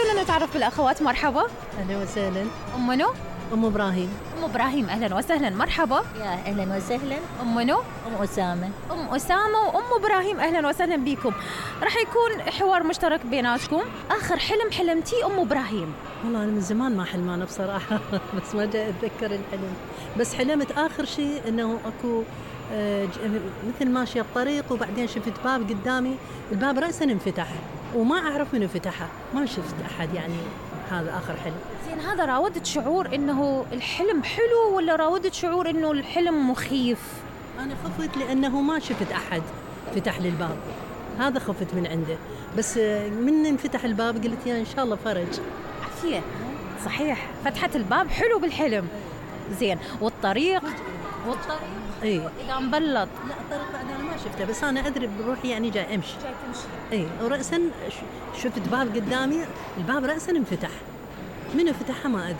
خلونا نتعرف بالأخوات. مرحبا. أهلا وسهلا. أم منو؟ أم إبراهيم. أم إبراهيم، أهلا وسهلا. مرحبا. يا أهلا وسهلا. أم منو؟ أم أسامة. أم أسامة وأم إبراهيم، أهلا وسهلا بكم. راح يكون حوار مشترك بيناتكم. آخر حلم حلمتيه أم إبراهيم؟ والله أنا من زمان ما حلمانة بصراحة بس ما جاء أتذكر الحلم. بس حلمت آخر شيء إنه أكو مثل ماشية بطريق وبعدين شفت باب قدامي، الباب رأسا انفتح وما أعرف من فتحه، ما شفت أحد يعني. هذا آخر حلم. زين، هذا راودت شعور إنه الحلم حلو ولا راودت شعور إنه الحلم مخيف؟ أنا خفت لأنه ما شفت أحد فتح لي الباب، هذا خفت من عنده. بس من انفتح الباب قلت يا إن شاء الله فرج. عافية. صحيح، فتحة الباب حلو بالحلم. زين، والطريق اي إذا مبلط؟ لا، الطريق بعد أنا ما شفته، بس أنا أدري بروحي يعني جاي أمشي. جاي تمشي. اي، ورأسا شفت باب قدامي، الباب رأسا انفتح، من فتحها ما أدري.